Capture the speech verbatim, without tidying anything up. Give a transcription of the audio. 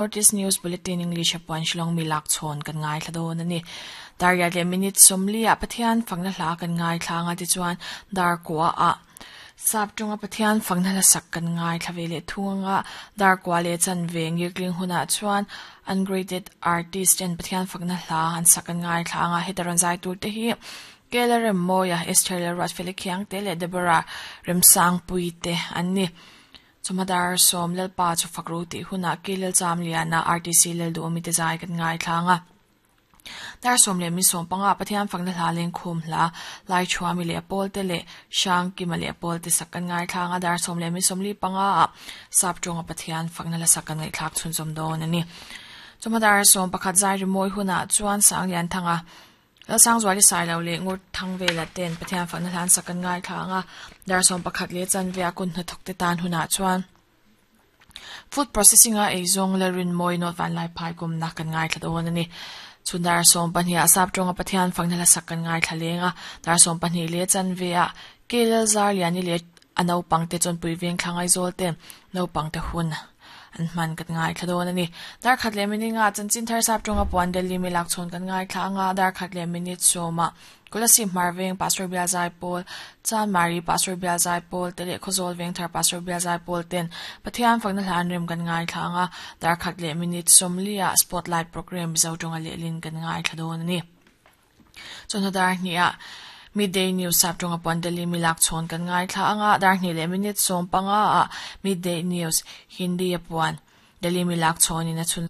Northeast News Bulletin English a puan Shillong mi lak chhawn kan ngaithla dawn a ni. Dar riat leh minute sawmli ah Pathian fakna hla kan ngaithla anga tichuan dar kua ah sap tawnga Pathian fakna hla sak kan ngaithla ve leh thung anga dar kua leh chanve ngirtling hunah chuan ungraded artist ten Pathian fakna hla an sak kan ngaithla anga heta rawn zai tur te hi Kela Remmawia, Esther leh Ruatfeli Khiangte leh Deborah Remsangpui te an ni. Chawhma dar sawm Lalpa chu fak ro tih hunah Kilel Chamliana R T C Lalduhawmi te zai kan ngaithla anga. Dar sawm leh min sawm panga Pathian fakna hla lengkhum hla Laichhuami leh Pawl te leh Hrangkima leh Pawl te sak kan ngaithla anga dar sawm leh min sawmli panga ah sap tawnga Pathian fakna hla sak kan ngaihthlak chhunzawm dawn a ni. Chawhma dar sawm pakhat zai rimawi hunah chuan Sanglianthanga Lalsangzuali Sailo leh Ngur Thangvela ten Pathian fakna hlan sak kan ngaithla anga dar sawm pakhat leh chanve a kun hnathawk te tan hunah chuan food processing a eizawng Lalrinmawi North Vanlaiphai kumna kan ngaithla dawn a ni. Chhun dar sawm pahnih ah sap tawnga Pathian fakna hla sak kan ngaithla leng a dar sawm pahnih leh chanve ah Kelel Zarliani leh a naupang te chawnpui veng thla Ngaizawl ten naupang te hun an hman kan ngaithla dawn a ni. Dar khat leh minute nga chanchin thar sap tawnga puan Delhi mi lak chhawn kan ngaithla anga dar khat leh minute sawma Kolasib Hmar Veng Pastor Bial Zai Pawl, Chan Mari Pastor Bial Zai Pawl te leh Khawzawl Veng Thar Pastor Bial Zai Pawl ten Pathian fakna hla an rem kan ngaithla anga dar khat leh minute sawmli ah Spotlight program Mizo tawnga lehlin kan ngaithla dawn a ni. Chawhnu dar hnih ah Midday News sap tawnga puan Delhi mi lak chhawn kan ngaithla anga dar hnih leh minute sawm panga ah Midday News Hindi a puan Delhi mi lak chhawnin a chhun.